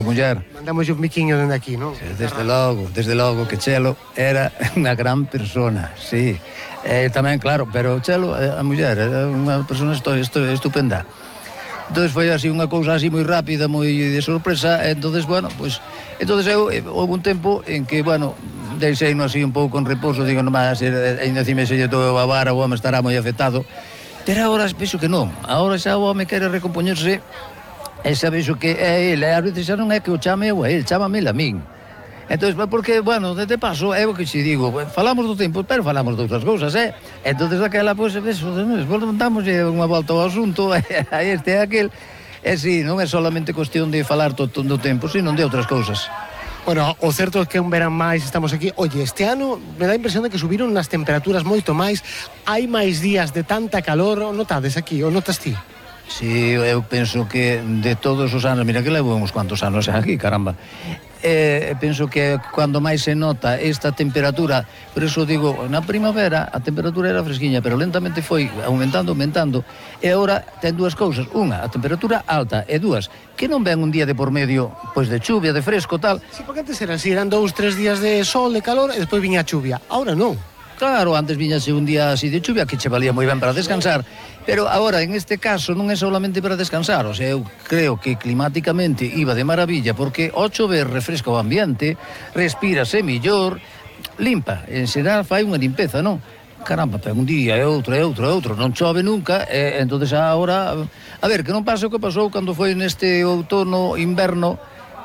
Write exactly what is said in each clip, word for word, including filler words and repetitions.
muller. Mandamos un biquiño dende aquí, non? Desde logo, desde logo que Chelo era unha gran persona, sí. Eh, tamén, claro, pero Chelo, a muller, era unha persona estu, estu, estupenda. Entón foi así unha cousa así moi rápida, moi de sorpresa, e entonces, bueno, pois, pues, entonces eu, houve un tempo en que, bueno, deixeino así un pouco en reposo, digo, non vai a ser, ainda cime se lle todo a vara, o home estará moi afectado, pero agora penso que non, agora xa o home quere recompoñerse. E xa vexo que é ele, a veces xa non é que o chame eu a ele, chámame a min. Entón, porque, bueno, de paso, é o que xe digo, falamos do tempo, pero falamos de outras cousas, eh? Entón, daquela, pois, pues, damos unha volta ao asunto, a este e aquel, e si, non é solamente cuestión de falar todo o tempo, sino de outras cousas. Bueno, o certo é que un verán máis estamos aquí. Oye, este ano me dá a impresión de que subiron nas temperaturas moito máis, hai máis días de tanta calor, o notades aquí, o notas ti? Si, eu penso que de todos os anos, mira que levo uns cuantos anos aquí, caramba, eh, penso que cando máis se nota esta temperatura, por eso digo, na primavera a temperatura era fresquiña, pero lentamente foi aumentando, aumentando, e agora ten dúas cousas, unha, a temperatura alta, e dúas, que non ven un día de por medio, pois de chuvia, de fresco, tal. Si, porque antes era así, eran dous, tres días de sol, de calor, e despois viña a chuvia, ahora non. Claro, antes viñase un día así de chuvia que che valía moi ben para descansar, pero agora, en este caso, non é solamente para descansar, o sea, eu creo que climáticamente iba de maravilla, porque ao chover refresca o ambiente, respírase millor, limpa, en xeral fai unha limpeza, non? Caramba, pero un día e outro e outro e outro, non chove nunca, e entonces agora, a ver, que non pase o que pasou cando foi neste outono, inverno,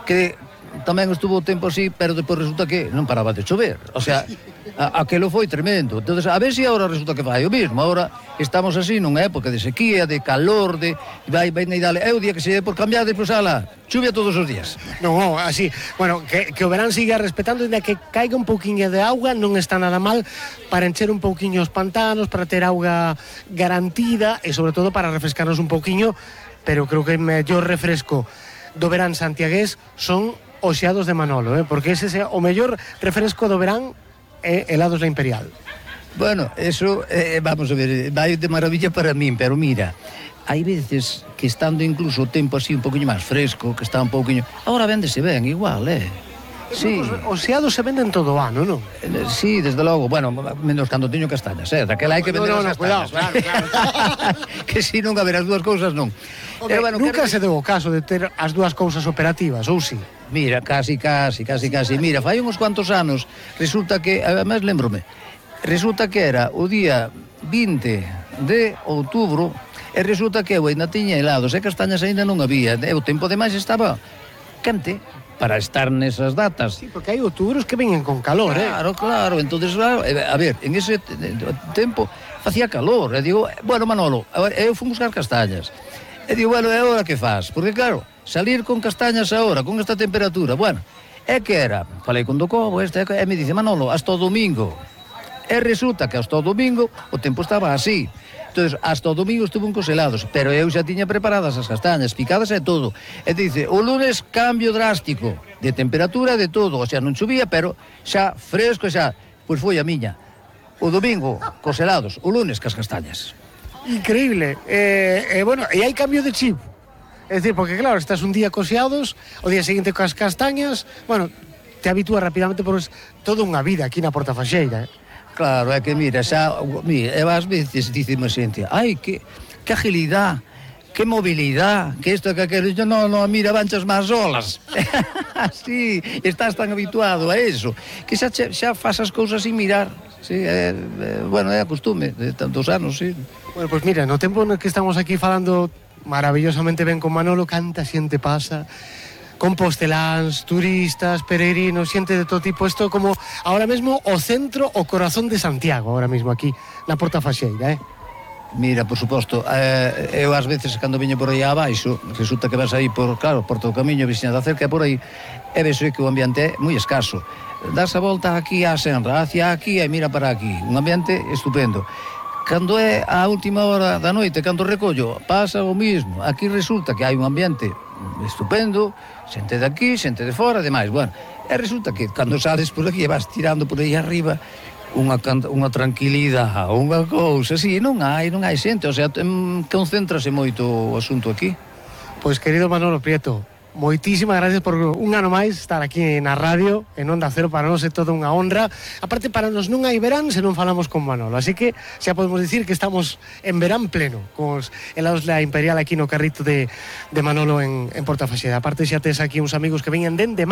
que tamén estuvo o tempo así, pero depois resulta que non paraba de chover, o sea, a, aquelo foi tremendo. Entonces, a ver se agora resulta que fai o mismo. Agora estamos así nunha época de sequía, de calor, de vai, vai na idade, é o día que se dé por cambiar, despois ala, chuvia todos os días. Non, non, así, bueno, que, que o verán siga respetando, e que caiga un pouquiño de auga, non está nada mal para encher un pouquiño os pantanos, para ter auga garantida e sobre todo para refrescarnos un pouquiño, pero creo que o mellor refresco do verán santiagués son os xeados de Manolo, eh? Porque ese é o mellor refresco do verán, é helados da Imperial. Bueno, eso, eh, vamos a ver, vai de maravilla para min, pero mira, hai veces que estando incluso o tempo así un poquinho máis fresco, que está un poquinho, agora véndese ben, igual, eh? Sí. Os xeados se venden todo o ano, non? Eh, sí, desde logo, bueno, menos cando teño castañas, eh? Daquela hai que vender no, no, as castañas. Cuidado, claro, claro. Que si non haber as dúas cousas, non. Okay, pero, bueno, nunca quero... se deu o caso de ter as dúas cousas operativas, ou si? Mira, casi, casi, casi, casi. Mira, fai uns cuantos anos, resulta que, además, lembrome, resulta que era o día vinte de outubro, e resulta que eu ainda tiña helados e castañas ainda non había, e o tempo demais estaba quente para estar nesas datas. Sí, porque hai outubros que veñen con calor, eh? Claro, claro, entonces, claro, a ver, en ese tempo facía calor, e digo, bueno, Manolo, eu fui buscar castañas, e digo, bueno, é hora que faz, porque claro, salir con castañas agora, con esta temperatura, bueno, é que era, falei con Docobo, este, e me dice, Manolo, hasta o domingo, e resulta que hasta o domingo o tempo estaba así, entonces hasta o domingo estuvo cos helados, pero eu xa tiña preparadas as castañas, picadas e todo, e dice, o lunes cambio drástico de temperatura e de todo, o sea, non chovía, pero xa fresco, xa, pois foi a miña, o domingo cos helados, o lunes cas castañas. Increíble, e eh, eh, bueno, e hai cambio de chip. É dicir, porque claro, estás un día coseados, o día seguinte coas castañas, bueno, te habitúas rapidamente, porque toda unha vida aquí na Portafaxeira, eh? Claro, é que mira, xa, mira, e ás veces dicime xente, ai, que, que agilidade, que movilidade, que isto, que aquilo, yo non, non, mira, vanchas máis olas. Así, estás tan habituado a eso, que xa, xa faz as cousas sin mirar, sí, é, é, bueno, é a costume de tantos anos, sí. Bueno, pois pues mira, no tempo no que estamos aquí falando maravillosamente ben con Manolo, canta xente pasa, composteláns, turistas, peregrinos, xente de todo tipo, isto como ahora mesmo o centro, o corazón de Santiago, ahora mesmo aquí, na Portafaxeira, eh? Mira, por suposto, eh, eu ás veces cando viño por aí abaixo, resulta que vas aí por, claro, por todo o camiño, veciña da cerca, por aí, e vexo que o ambiente é moi escaso. Das a volta aquí á Senra, hacia aquí e mira para aquí, un ambiente estupendo. Cando é a última hora da noite, cando recollo, pasa o mismo. Aquí resulta que hai un ambiente estupendo, xente de aquí, xente de fora, demais, bueno, e resulta que cando sales por aquí e vas tirando por aí arriba, unha, unha tranquilidade, unha cousa, así, non hai, non hai xente, o sea, concéntrase moito o asunto aquí. Pois, querido Manolo Prieto, moitísimas gracias por un ano máis estar aquí na radio, en Onda Cero. Para nós é toda unha honra. Aparte, para nós non hai verán se non falamos con Manolo, así que xa podemos dicir que estamos en verán pleno con os helados La Imperial aquí no carrito de, de Manolo en, en Portafaxeda. Aparte, xa tes aquí uns amigos que veñen dende